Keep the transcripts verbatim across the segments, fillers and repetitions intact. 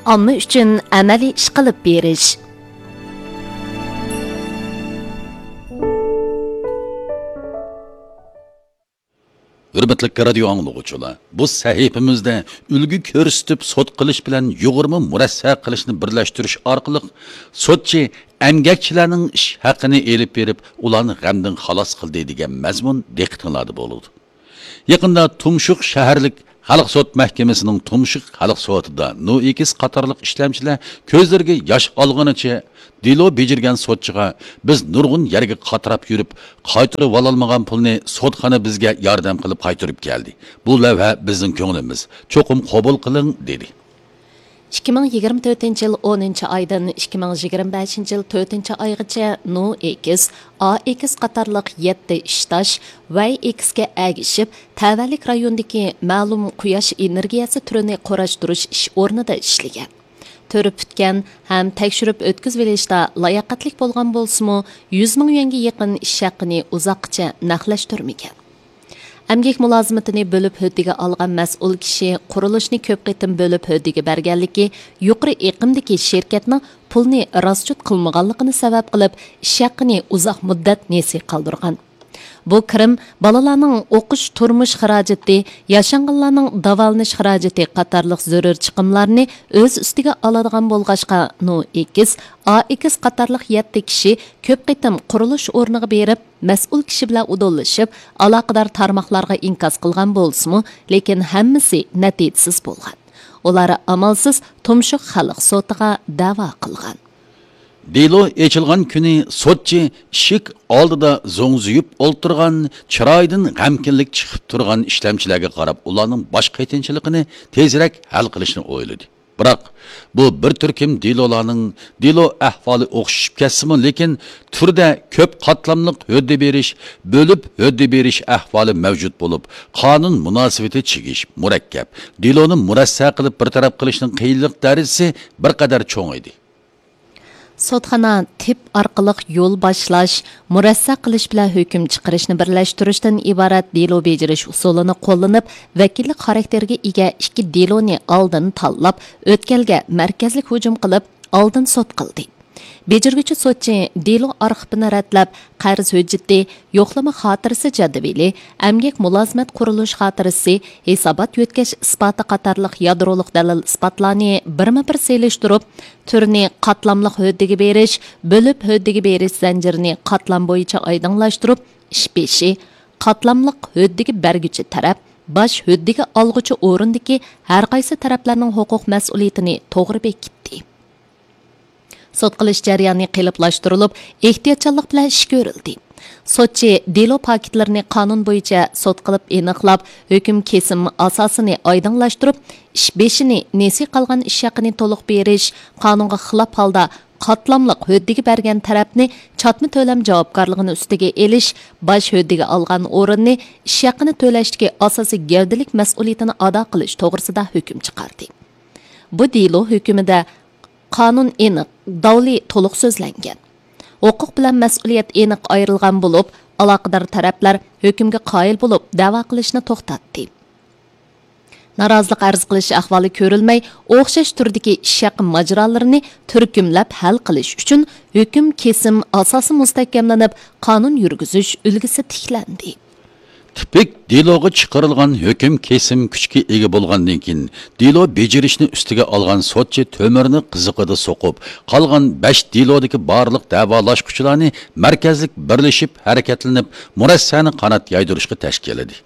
ئامما ئۈچۈن ئەمەلىي ئىش قىلىپ بېرىش. ھۆرمەتلىك رادىيو ئاڭلىغۇچىلار، بۇ سەھىپىمىزدە ئۈلگە كۆرسىتىپ سوت قىلىش بىلەن يۇغۇرما مۇرەسسە قىلىشنى بىرلەشتۈرۈش ئارقىلىق سوتچى ئەمگەكچىلەرنىڭ ئىش ھەققىنى ئېلىپ بېرىپ، ئۇلارنى غەمدىن خالاس قىلدى دېگەن مەزمۇن دىققىتىڭلاردا بولىدۇ. يېقىندا تۇمشۇق شەھەرلىك خەلق سوت مەھكىمىسىنىڭ تۇمشۇق خەلق سوتىدا نو ئېكس قاتارلىق ئىشلەمچىلەر كۆزلىرىگە ياش ئالغىنىچە دېلو بېجىرگەن سوتچىغا، بىز نۇرغۇن يەرگە قاتراپ يۈرۈپ، قايتۇرۇۋالالمىغان پۇلنى سوتخانا بىزگە ياردەم قىلىپ قايتۇرۇپ كەلدى. بۇ لەۋھە بىزنىڭ كۆڭلىمىز، چوقۇم قوبۇل قىلىڭ، دېدى. ئىككى مىڭ يىگىرمە تۆتىنچى يىل ئونىنچى ئايدىن ئىككى مىڭ يىگىرمە بەشىنچى يىل تۆتىنچى ئايغىچە نو ئېكس، ئا ئېكس قاتارلىق يەتتە ئىشداش ۋەي ئېكسكە ئەگىشىپ، تەۋەلىك رايوندىكى مەلۇم قۇياش ئېنېرگىيەسى تۈرىنى قۇراشتۇرۇش ئىش ئورنىدا ئىشلىگەن. تۈر پۈتكەن ھەم تەكشۈرۈپ ئۆتكۈزۈۋېلىشتا لاياقەتلىك بولغان بولسىمۇ، يۈز مىڭ يۈەنگە يېقىن ئىش ھەققىنى ئۇزاققىچە نەقلەشتۈرمىگەن. ئەمگەك مۇلازىمىتىنى بۆلۈپ ھۆددىگە ئالغان مەسئۇل كىشى قۇرۇلۇشنى كۆپ قېتىم بۆلۈپ ھۆددىگە بەرگەنلىكى، يۇقىرى ئېقىمدىكى شىركەتنىڭ پۇلنى راسچوت قىلمىغانلىقىنى سەۋەب قىلىپ، ئىش ھەققىنى ئۇزاق مۇددەت نېسى قالدۇرغان. بۇ كىرىم بالىلارنىڭ ئوقۇش، تۇرمۇش خىراجىتى، ياشانغانلارنىڭ داۋالىنىش خىراجىتى قاتارلىق زۆرۈر چىقىملارنى ئۆز ئۈستىگە ئالىدىغان بولغاچقا، نو ئېكس، ئا ئېكس قاتارلىق يەتتە كىشى كۆپ قېتىم قۇرۇلۇش ئورنىغا بېرىپ، مەسئۇل كىشى بىلەن ئۇدۇللىشىپ، ئالاقىدار تارماقلارغا ئىنكاس قىلغان بولسىمۇ، لېكىن ھەممىسى نەتىجىسىز بولغان. ئۇلار ئامالسىز تۇمشۇق خەلق سوتىغا دەۋا قىلغان. دېلو ئېچىلغان كۈنى سوتچى ئىشىك ئالدىدا زوڭزىيىپ ئولتۇرغان، چىرايىدىن غەمكىنلىك چىقىپ تۇرغان ئىشلەمچىلەرگە قاراپ، ئۇلارنىڭ باش قېتىنچىلىقىنى تېزرەك ھەل قىلىشنى ئويلىدى. بىراق، بۇ بىر تۈركۈم دېلولارنىڭ دېلو ئەھۋالى ئوخشىشىپ كەتسىمۇ، لېكىن تۈردە كۆپ قاتلاملىق ھۆددە بېرىش، بۆلۈپ ھۆددە بېرىش ئەھۋالى مەۋجۇت بولۇپ، قانۇن مۇناسىۋىتى چىگىش، مۇرەككەپ. دېلونى مۇرەسسە قىلىپ بىر تەرەپ قىلىشنىڭ قىيىنلىق دەرىجىسى بىر قەدەر چوڭ ئىدى. سوتخانا تىپ ئارقىلىق يول باشلاش، مۇرەسسە قىلىش بىلەن ھۆكۈم چىقىرىشنى بىرلەشتۈرۈشتىن ئىبارەت دېلو بېجىرىش ئۇسۇلىنى قوللىنىپ، ۋەكىللىك خاراكتېرىگە ئىگە ئىككى دېلونى ئالدىن تاللاپ، ئۆتكەلگە مەركەزلىك ھۇجۇم قىلىپ، ئالدىن سوت قىلدى. بېجىرگۈچى سوتچى دېلو ئارخىپىنى رەتلەپ، قەرز ھۆججىتى، يوقلىما خاتىرىسى جەدۋىلى، ئەمگەك مۇلازىمەت قۇرۇلۇش خاتىرىسى، ھېسابات يۆتكەش ئىسپاتى قاتارلىق يادرولۇق دەلىل ئىسپاتلارنى بىرمۇ بىر سېلىشتۇرۇپ، تۈرنى قاتلاملىق ھۆددىگە بېرىش، بۆلۈپ ھۆددىگە بېرىش زەنجىرىنى قاتلام بويىچە ئايدىڭلاشتۇرۇپ، ئىش بېشى، قاتلاملىق ھۆددىگە بەرگۈچى تەرەپ، باش ھۆددىگە ئالغۇچى ئورۇندىكى ھەرقايسى تەرەپلەرنىڭ ھوقۇق مەسئۇلىيىتىنى توغرا بېكىتتى. سوت قىلىش جەريانى قېلىپلاشتۇرۇلۇپ، ئېھتىياتچانلىق بىلەن ئىش كۆرۈلدى. سوتچى دېلو پاكىتلىرىنى قانۇن بويىچە سوت قىلىپ ئېنىقلاپ، ھۆكۈم كېسىم ئاساسىنى ئايدىڭلاشتۇرۇپ، ئىش بېشىنى نېسى قالغان ئىش ھەققىنى تولۇق بېرىش، قانۇنغا خىلاپ ھالدا قاتلاملىق ھۆددىگە بەرگەن تەرەپنى چاتما تۆلەم جاۋابكارلىقىنى ئۈستىگە ئېلىش، باش ھۆددىگە ئالغان ئورۇننى ئىش ھەققىنى تۆلەشتىكى ئاساسىي گەۋدىلىك مەسئۇلىيىتىنى ئادا قىلىش توغرىسىدا ھۆكۈم چىقاردى. بۇ دېلو ھۆكۈمىدە قانۇن ئېنىق، داۋلى تولۇق سۆزلەنگەن. ھوقۇق بىلەن مەسئۇلىيەت ئېنىق ئايرىلغان بولۇپ، ئالاقىدار تەرەپلەر ھۆكۈمگە قايىل بولۇپ، دەۋا قىلىشنى توختاتتى. نارازىلىق ئەرز قىلىش ئەھۋالى كۆرۈلمەي، ئوخشاش تۈردىكى ئىش ھەققى ماجىرالىرىنى تۈركۈملەپ ھەل قىلىش ئۈچۈن، ھۆكۈم كېسىم ئاساسى مۇستەھكەملىنىپ، قانۇن يۈرگۈزۈش ئۈلگىسى تىكلەندى. تىپىك دېلوغا چىقىرىلغان ھۆكۈم كېسىم كۈچكە ئىگە بولغاندىن كېيىن، دېلو بېجىرىشنى ئۈستىگە ئالغان سوتچى تۆمۈرنى قىزىقىدا سوقۇپ، قالغان بەش دېلودىكى بارلىق دەۋالاشقۇچىلارنى مەركەزلىك بىرلىشىپ ھەرىكەتلىنىپ، مۇرەسسەنى قانات يايدۇرۇشقا تەشكىللىدى.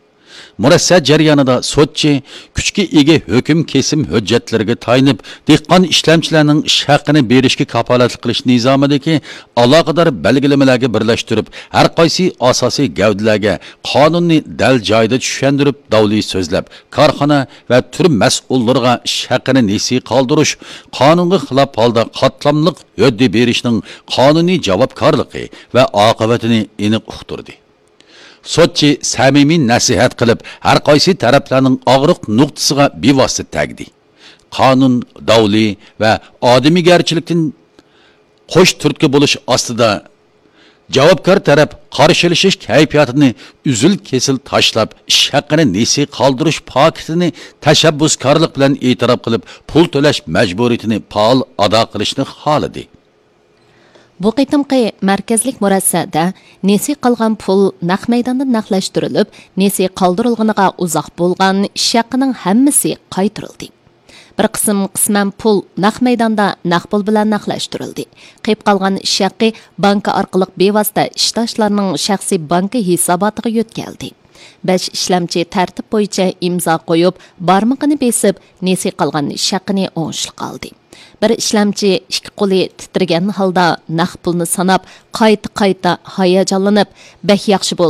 مۇرەسسە جەريانىدا سوتچى كۈچكە ئىگە ھۆكۈم كېسىم ھۆججەتلىرىگە تايىنىپ، دېھقان ئىشلەمچىلەرنىڭ ئىش ھەققىنى بېرىشكە كاپالەتلىك قىلىش نىزامىدىكى ئالاقىدار بەلگىلىمىلەرگە بىرلەشتۈرۈپ، ھەر قايسى ئاساسىي گەۋدىلەرگە قانۇننى دەل جايىدا چۈشەندۈرۈپ، داۋلى سۆزلەپ، كارخانا ۋە تۈر مەسئۇللىرىغا ئىش ھەققىنى نېسى قالدۇرۇش، قانۇنغا خىلاپ ھالدا قاتلاملىق ھۆددە بېرىشنىڭ قانۇنىي جاۋابكارلىقى ۋە ئاقىۋىتىنى ئېنىق ئۇقتۇردى. سوتچى سەمىمىي نەسىھەت قىلىپ، ھەر قايسى تەرەپلەرنىڭ ئاغرىق نۇقتىسىغا بىۋاسىتە تەگدى. قانۇن، داۋلى ۋە ئادىمىيگەرچىلىكتىن قوش تۈرتكە بولۇش ئاستىدا جاۋابكار تەرەپ قارشىلىشىش كەيپىياتىنى ئۈزۈل-كېسىل تاشلاپ، ئىش ھەققىنى نېسى قالدۇرۇش پاكىتىنى تەشەببۇسكارلىق بىلەن ئېتىراپ قىلىپ، پۇل تۆلەش مەجبۇرىيىتىنى پائال ئادا قىلىشنى خالىدى. بۇ قېتىمقى مەركەزلىك مۇرەسسەدە نېسى قالغان پۇل نەق مەيداندا نەقلەشتۈرۈلۈپ، نېسى قالدۇرۇلغىنىغا ئۇزاق بولغان ئىش ھەققىنىڭ ھەممىسى قايتۇرۇلدى. بىر قىسىم قىسمەن پۇل نەق مەيداندا نەق پۇل بىلەن نەقلەشتۈرۈلدى. قېلىپ قالغان ئىش ھەققى بانكا ئارقىلىق بىۋاسىتە ئىشداشلارنىڭ شەخسىي بانكا ھېساباتىغا يۆتكەلدى. بەش ئىشلەمچى تەرتىپ بويىچە ئىمزا قويۇپ، بارمىقىنى بېسىپ، نېسى قالغان ئىش ھەققىنى ئوڭۇشلۇق ئالدى. بىر ئىشلەمچى ئىككى قولى تىترىگەن ھالدا نەق پۇلنى ساناپ، قايتا-قايتا ھاياجانلىنىپ، بەك ياخشى بولدى.